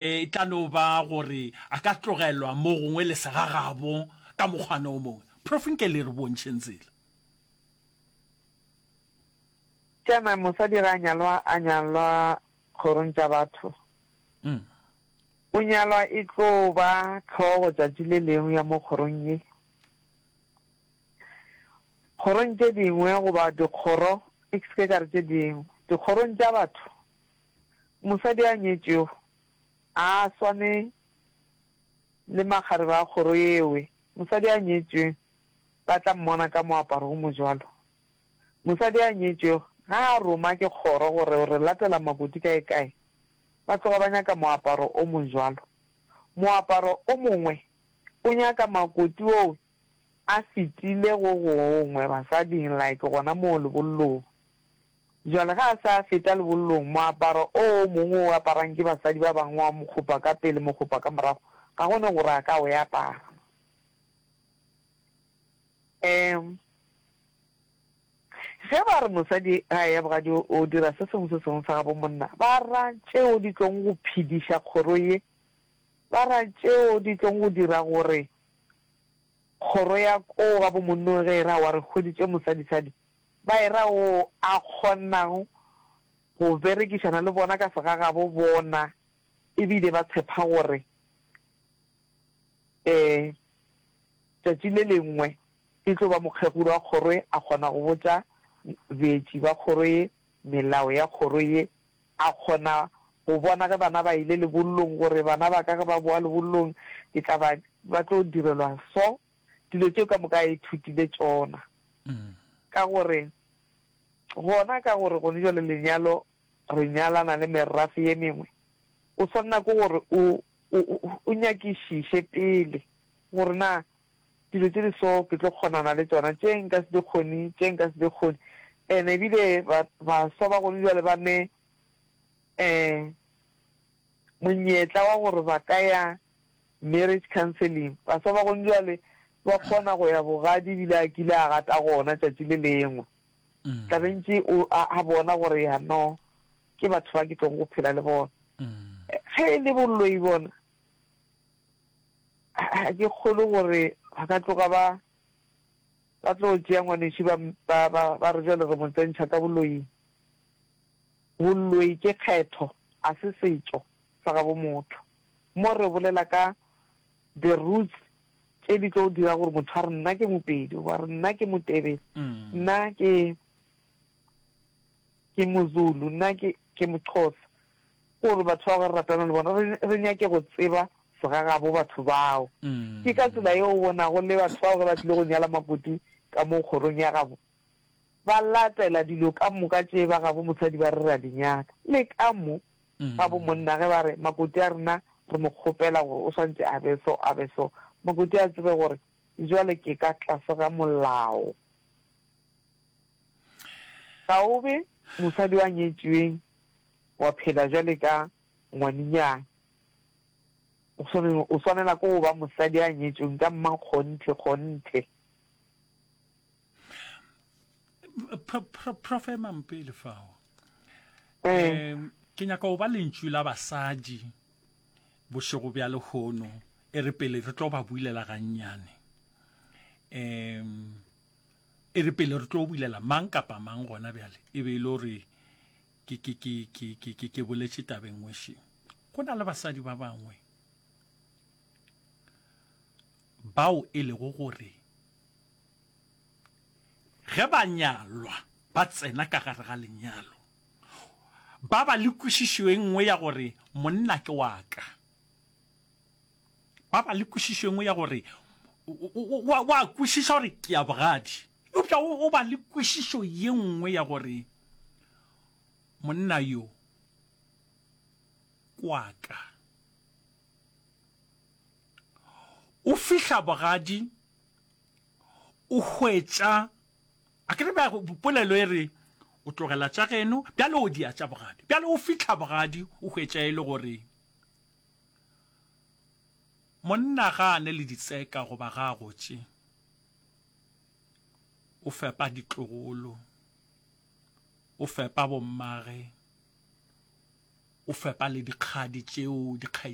E tla no ba gore a ka tlogelwa mo gongwe le segagabo ka mokgwana o mongwe. Prof nke le re bontšheng tsela. Tšana mosadi ge a nyalwa a nyalwa kgorong tša batho. O nyalwa e tlo ba hlogo tšatši le lengwe ya mo kgorong ye. Kgorong tše dingwe goba dikgoro, ke se ke ka re tše dingwe, dikgorong tša batho Mosadi a nyetšwego a a swane le makgarebe a kgoro yewe. Mosadi a nyetšweng ba tla mmona ka moaparo o mojwalo. Mosadi a nyetšwego ga a roma ke kgoro gore o re latela makoti kae kae, ba tloga ba nyaka moaparo o mojwalo. Moaparo o mongwe o nyaka makoti owe a fetile go gongwe basading like gona moo lebollong. Bjale ge a se a feta lebollong, moaparo o o mongwe o aparang ke basadi ba bangwe wa mokgopa ka pele mokgopa ka morago, ga go ne gore a ka o apara. Um Ge ba re mosadi ge a eya bogadi o dira se sengwe se sengwe sa gabo monna, ba ra tšeo di tlong go phediša kgoro ye, ba ra tšeo di tlong go dira gore kgoro ya koo gabo monnong ge e re aowa re hweditše mosadisadi, Ba e ra wo a kgonago go berekišana le bona ka segagabo bona e bile ba tshepa gore um tšatši le lengwe e tlo ba mokgekolo wa kgoro ye a kgona go botša beetši ba kgoro ye melao ya kgoro ye, a kgona go bona ge bana ba ile lebollong gore bana ba ka ge ba boa lebollong ke tla ba ba tlo direlwa so. Dilo tšeo ka moka a ithutile tšona. Ka gore, gona ka gore gone jwale lenyalo re nyalana le merafe ye mengwe, o swanela ke gore o, o, o nyakišiše pele gore na dilo tše di so ke tlo kgonana le tšona, tše nka se di kgone, tše nka se di kgone. And ebile ba, baswa ba gone jwale ba ne um monyetla wa gore ba ka ya Marriage counselling, Baswa ba gone bjale ba kgona go ya bogadi ebile a kile a gata gona tšatši le lengwe. Tla be ntše o a, a bona gore ya no ke batho ba ke tlong go phela le bona. Ge e le boloi bona, ga ke kgolwe gore ba ka tloga ba ba tlo tšea ngwanešu ba, ba, ba, ba re bjale re mo tsentšha ka boloing. Boloi ke kgetho, a se setšo sa gabo motho. Mo re bolela ka the roots tše di tlo dira gore motho a re nna ke Mopedi goba re nna ke Motebele, nna ke ke Mozulu, nna ke ke Moxhosa. Ke gore batho bao ge re ratana le bona re re nyake go tseba segagabo batho bao. Ke ka tsela yeo o bonago le batho bao ge ba tlile go nyala makoti ka mo kgorong ya gabo ba latela dilo ka moka tše ba gabo mosadi ba re re a di nyaka. Le ka mo gabo monna ge ba re makoti a rena re mo kgopela gore o swantše a be so a be so, makoti a tsebe gore jwale ke ka tlase ga molao. Ga o be mosadi wa nyetšweng wa phela jwale ka ngwaninyana. O swanela ke go ba mosadi a nyetšweng ka mmakgonthe kgonthe. Prof emang pele fao. Um ke nyaka go ba lentšu la basadi bošego bja lehono e re pele re tlo ba builela gannyane. Um e re pele re tlo builela mang kapa mang gona bjale e be e le gore ke ke ke ke ke ke ke boletše tabeng ngweši. Go na le basadi ba bangwe bao e lego gore Ge ba nyalwa, ba tsena ka gare ga lenyalo, ba ba le kwešišo e nngwe ya gore monna ke wa ka. Ba ba le kwešišo e nngwe ya gore wa kwešiša gore ke ya bogadi, eupša o ba le kwešišo ye nngwe ya gore monna yo ke wa ka. O fihla bogadi o hwetša, a ke re bja polelo e re o tlogela tša geno bjale o dia tša bogadi. Bjale o fihla bogadi o hwetša e le gore monna ga a ne le ditseka goba ga a gotše, o fepa ditlogolo, o fepa bommage. O fepa le dikgadi tšeo, dikgaetšedi.